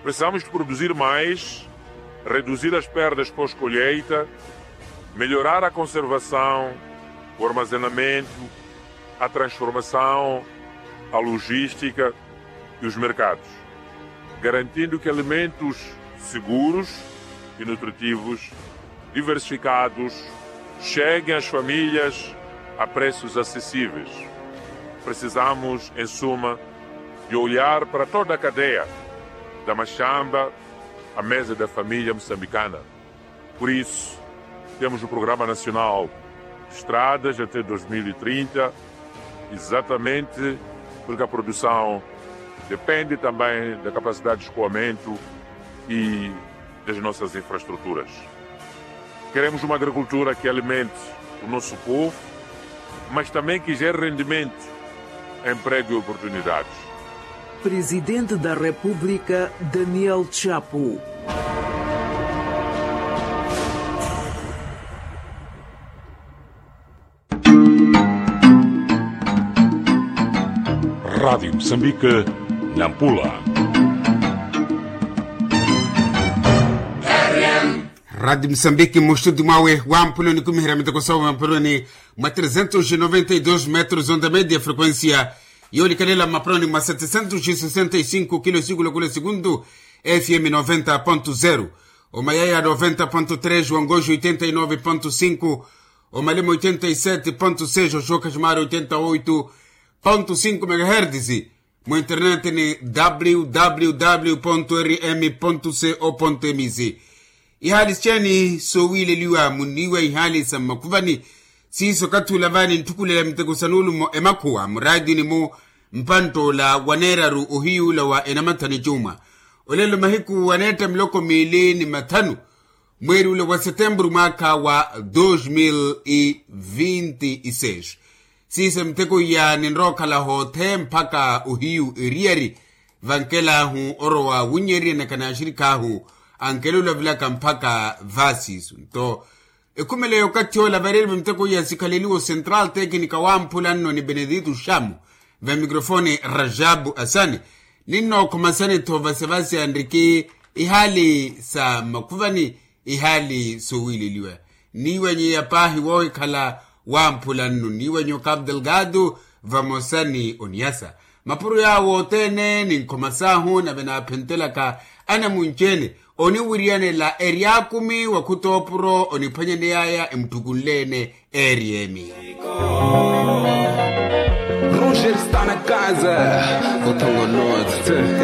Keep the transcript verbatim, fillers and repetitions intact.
Precisamos de produzir mais, reduzir as perdas pós-colheita, melhorar a conservação, o armazenamento, a transformação, a logística e os mercados, garantindo que alimentos seguros e nutritivos diversificados cheguem às famílias a preços acessíveis. Precisamos, em suma, de olhar para toda a cadeia, da machamba à mesa da família moçambicana. Por isso, temos o Programa Nacional Estradas até dois mil e trinta, exatamente porque a produção depende também da capacidade de escoamento e das nossas infraestruturas. Queremos uma agricultura que alimente o nosso povo, mas também que gere rendimento, emprego e oportunidades. Presidente da República, Daniel Chapo. Rádio Moçambique, Nampula. Rádio Moçambique, mu estúdio mwawe wa Nampula, onikumihira miteko sawa mapuroni mwa trezentos e noventa e dos metros onda média, frequência yoolikalela mapuroni mwa setecentos e sessenta e cinco kilo, siku la kula segundu, F M noventa ponto zero, omayaya noventa ponto três, wangoxo oitenta e nove ponto cinco, omalema oitenta e sete ponto seis, oxoka ximara oitenta e oito ponto cinco megahertz. Mu internet ni www ponto rm ponto co ponto mz. Ihaali sicheni sowiileliwa muniiwa ihaali sa mmakhuvani, siiso okathi ula vaani ntthukulela miteko sa nuulumo emakhuwa muraatini-mu, mpantt'ola waneeraru ohiyuula wa enamathani cuuma. Olelo mahiku waneetta miloko miili ni mathanu, mweeri ule wa setempuru mwaakha wa dos mil e vinte e seis. Siiso miteko iya ninrowa okhala hoothe mpakha ohiyu eriyari, vankel'ahu orowa wunnyererya naka n'axirik'ahu, ankelela olavilaka mpakha vaasiiso nto. Ekhumelo y'okathi ola vareeriwe miteko iya sikhaleliwe o central técnica wamphula nno ni benedito xamu, va mikrofoni rajabu asani. Ninnookhoma sani-tho vasevase anriki ihaali sa mmakhuvani, ihaali sowiileliwa. Niiwanyiya paahi woohikhala wamphula nno niiwanyiya okapu delgado, vamosa ni oniyasa mapuro yaawo othene ni nkhoma saahu nave naaphentelaka anamunci-ene oniwiriyanela eryakumi wa khutoopuro oniphwanyaneyaya emutthukunle-ene. Eriyemi. Roger está na casa, o Tongo Norte.